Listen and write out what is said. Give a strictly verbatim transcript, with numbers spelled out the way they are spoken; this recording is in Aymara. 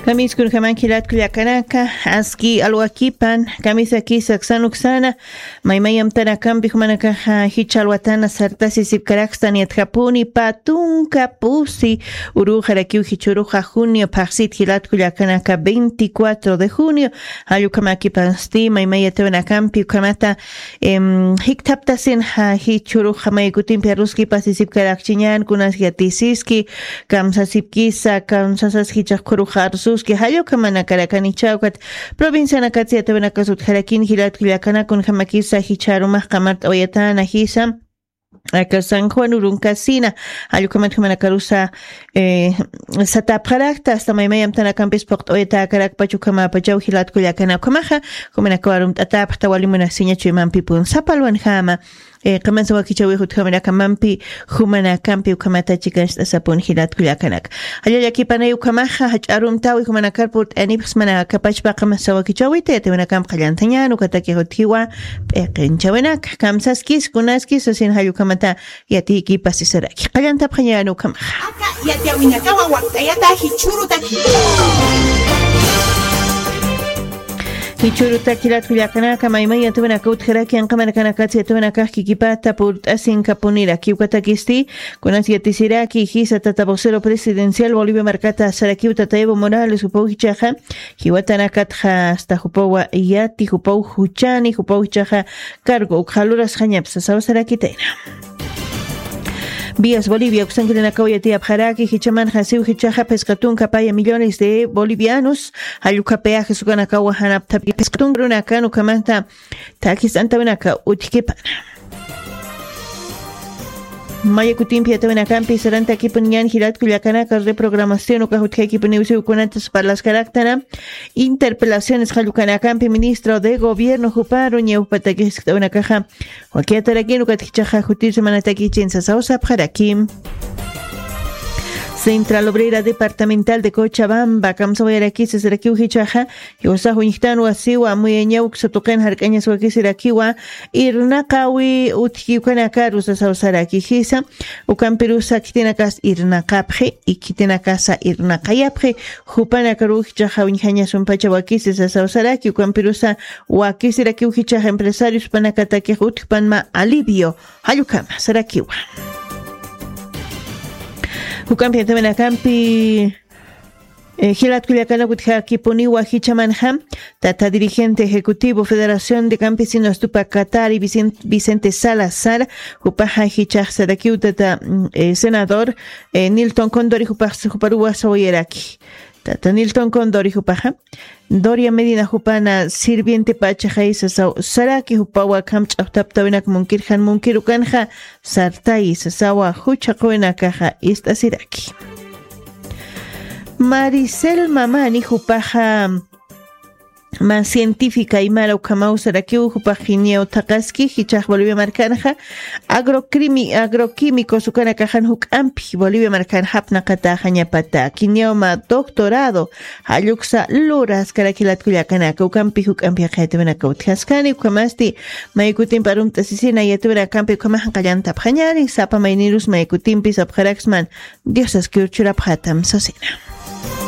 Kamiskunjaman jilatku llakanaka, aski alwakipan, kamisaki saksanuksana, maymay amtanakampi jumanakaxa jichha alwatana sartasisipkarakstani yatjapuni, patunka pusi uruxarakiw jichhuruxa junio phaxsit jilatku llakanaka veinticuatro de junio, jallukhamakipasti maymay yatawanakampi ukhamata, em, jikthaptasin ja jichhuruxa maykutimpi aruski pasisipkarakchiñan, kunas yatisiski, kamsasipkisa, kamsasas jichhax khuruxa arsuski, jallukhamanakarakanichawkat, provincianakatsi yatawinakas utjarakin jilatku llakanaka, kunjamakisa jichharumax qamart'awayatana jisa, aka San Juan urunkasina, jallukhamat jumanakarusa, eh, satapxarakta, hasta maymay amtanakampis phuqt'awayatakarakpacha ukhamapachaw jilatku llakanaka, ukhamaxa, jumanakaw arumt'atapxta wali munasiñachu imampipun, sapa alwanjama, eh, qamasawakichawix utjamanaka mampi, jumanakampi ukhamata chikancht'asapun jilatku llakanaka. Jalla llakipanay ukhamaxa, jach'a arumtawi jumanakar purt'anipxsmana kapachpa qamasawakichawita, yatawinakamp qallantañan, ukatakix utjiwa, p'iqinchawinaka, kamsaskis, kunaskis, sasin jallukhamata, yatiykipasisaraki. Qallantapxañan ukhamaxa. Aka yatiyawinakawa wakt'ayata jichhurutaki. Jichhurutaki jilatku llakanaka, maymay yatawinaka utjaraki, anqamanakanakatsi yatawinakax kikipata purt'asinkapuniraki, ukatakisti, kunas yatisiraki, jisa tata vocero presidencial Bolivia markata sarakiw tata Evo Morales, jupaw jichhaxa, jiwatanakatxa, hasta jupawa yati, jupaw juchani, jupaw jichhaxa, cargo ukxa lurasxañapa sasaw sarakitayna. Vías Bolivia uksankirinakaw yatiyapxaraki, jichhamanxa siw jichhaxa phisqa tunka paya millones de bolivianos, jallukha peajes ukanakawa janapthapi phisqa tunka runakan ukhamanta thakist'antawinaka utjkipana. Maya kutimpi yatawinakampi sarantakipuniñan jilatku llakanaka, reprogramación ukax utjaykipuniw siw kunatas parlaskaraktana, interpelaciones jallukanakampi ministro de gobierno juparu ñawpatakis jiskt'awinakaxa, wakiyatarakin ukat jichhaxa jutir semanataki chinsasaw sapxaraki. Central Obrera Departamental de Cochabamba, kamsawayarakisa sarakiw jichhaxa, jiwasax uñjtan wasiwa, amuyañaw uksa tuqin jark'añaswakisirakiwa, irnaqawi utjki ukanakaru sasaw saraki jisa, ukampirusa khitinakas irnaqapxi, y khitinakasa irnaqayapxi, jupanakaru jichhaxa uñjañasumpachawakisi sasaw saraki, ukampirusa wakisirakiw jichhaxa empresarios panakatakix utjpanma alivio, jallukhama sarakiwa. Jukampi yatawinakampi, eh, jilatku llakanaka utjakipuniwa jichhamanxa, tata dirigente ejecutivo Federación de Campesinos Tupac Katari, Vicen-, Vicente Salazar, jupaxa jichhax sarakiw tata, mm, eh, senador, eh, Nilton Condori, jupax, juparuwa sawayaraki. Tata Nilton Condori jupaxa, Doria Medina jupana sirviente pachaxay sasaw saraki, jupawa kamch'axtaptawinak munkir jan munkirukanxa sartay sasawa juchhaqwinakaxa ist'asiraki. Maricel Mamani jupaxa mä científica aymara ukhamaw sarakiw, jupax jiniyaw thaqaski, jichhax Bolivia markanxa agrocrimi-, agroquímicos ukanakaxan juk'ampi Bolivia markan japnaqataxañapata, kiniyaw mä doctorado, jalluksa luraskaraki jilatku llakanaka, ukampi juk'ampi yaqha yatawinaka utjaskani, ukhamasti maykutimpi arumt'asisina yatawinakampi ukhamax qallantapxañani, sapa maynirus maykutimpi sapxaraksman, Diosaskiw churapxatam sasina.